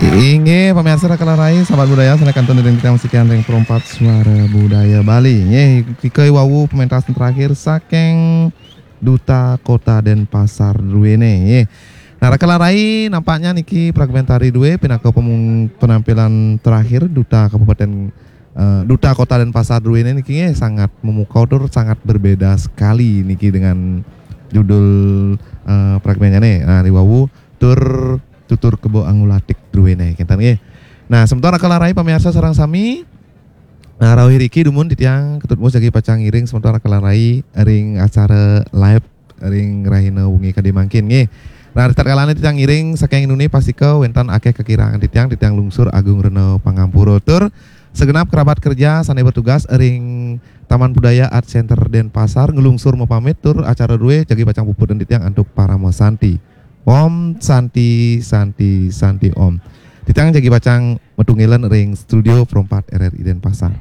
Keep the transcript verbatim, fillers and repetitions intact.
Inggih, pamiarsa Raka lan Rai, sahabat budaya, sané kantun ring titiang sikian ring Perempat Suara Budaya Bali. Nggih, nika wau pementasan terakhir saking Duta Kota Denpasar druéné, nggih. Nah, Raka lan Rai, nampaknya niki fragmentari drué pinaka pemung-, penampilan terakhir Duta Kabupaten, eh, Duta Kota Denpasar druéné niki, nggih, sangat memukau tur sangat berbeda sekali niki dengan judul, eh, fragmennya nih. Nah, ri wau tur tutur kebo angulatik druéné, kénten nggih. Nah, semeton Raka lan Rai pamiarsa sareng sami, nah, rauh iriki dumun titiang Ketut Mus jagi pacang ngiring semeton Raka lan Rai ring acara live ring rahina wengi kadé mangkin nggih. Nah, ritatkalané titiang ngiring saking inuné pastika wénten akéh kakirangan titiang, titiang lungsur agung rena pangampura tur segenap kerabat kerja sané bertugas ring Taman Budaya Art Center Denpasar nglungsur mapamit tur acara drué jagi pacang puputang titiang antuk parama santi. Om Santi, Santi, Santi Om. Titiang jagi pacang metungilan ring studio Perempat R R I Denpasar.